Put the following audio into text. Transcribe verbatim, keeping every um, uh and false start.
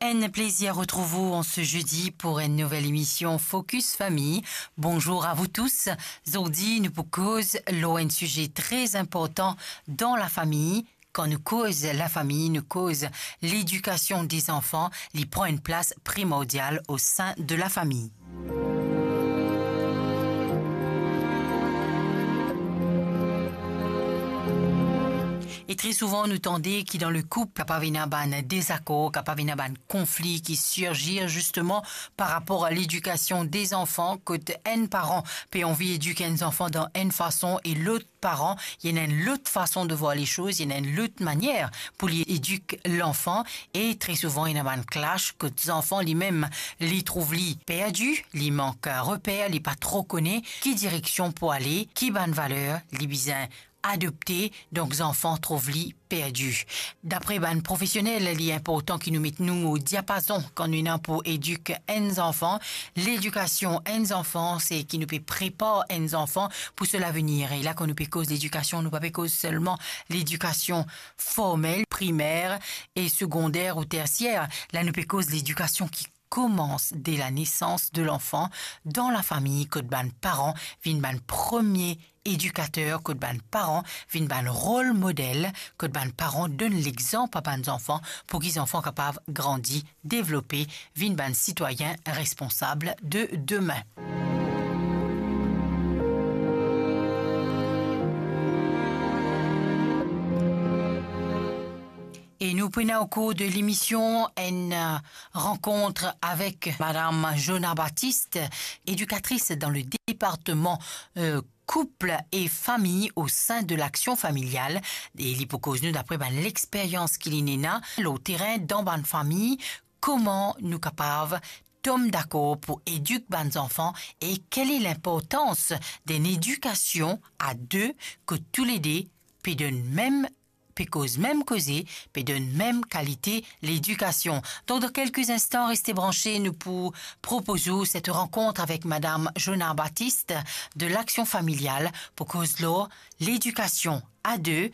Enn plezir retrouv ou an se zedi pou enn nouvel emision Focus Famille. Bonzour a vou tous. Zordi nou pou koz lor enn size tre inportan dan lafami. Kan nou koz lafami, nou koz ledikasion de zanfan, li pran enn plas primordial o sein de lafami. E tre souvan nou tande ki dan le koup kapav ena bann dezakor, kapav ena bann konfli ki sirzir zisteman par rapor a ledikasion de zanfan, kot enn paran pe anvi edik enn zanfan dan enn fason e lot paran, li ena enn lot fason de vwar lesoz, li ena enn lot manier pou li edik lanfan, e tre souvan ena bann clash kot zanfan limem li trouv li perdi, li mank reper, li pa tro kone ki direksion pou ale, ki bann valer li bizin adopte, donk zanfan trouv li perdi. Dapre bann profesionel, li inportan ki nou met nou o diapazon kan nou ena pou edik enn zanfan. Ledikasion enn zanfan, se ki nou pe prepar enn zanfan pou so lavenir. E la, kan nou pe koz ledikasion, nou pa pe koz selman ledikasion formel, primer e segonder ou tersier. La, nou pe koz ledikasion ki koumans de la nesans de lanfan dan lafami, kot bann paran vinn bann premie edikater, kot bann paran vinn bann rol model, kot bann paran donn lexanp a bann zanfan pou ki zanfan kapav grandi, devlope, vinn bann sitwayin responsab de demin. E nou pou ena o kour de lemision enn, euh, rankont avek Madam Jona Baptiste, edikatris dan le departman, euh, koup e fami o sein de Laksion Familial, e li pou koz nou dapre bann lexperyans ki li ena lor terin dan bann fami, kouma nou kapav tom dakor pou edik bann zanfan e kele linportans d'enn edikasion a de, kot toulede pe donn mem, pe koz mem koze, pe donn mem kalite ledikasion. Donk, dan kelke instan, reste branche, nou pou propoz ou set rankont avek Madam Jona Baptiste de Laksion Familial pou koz lor ledikasion a de,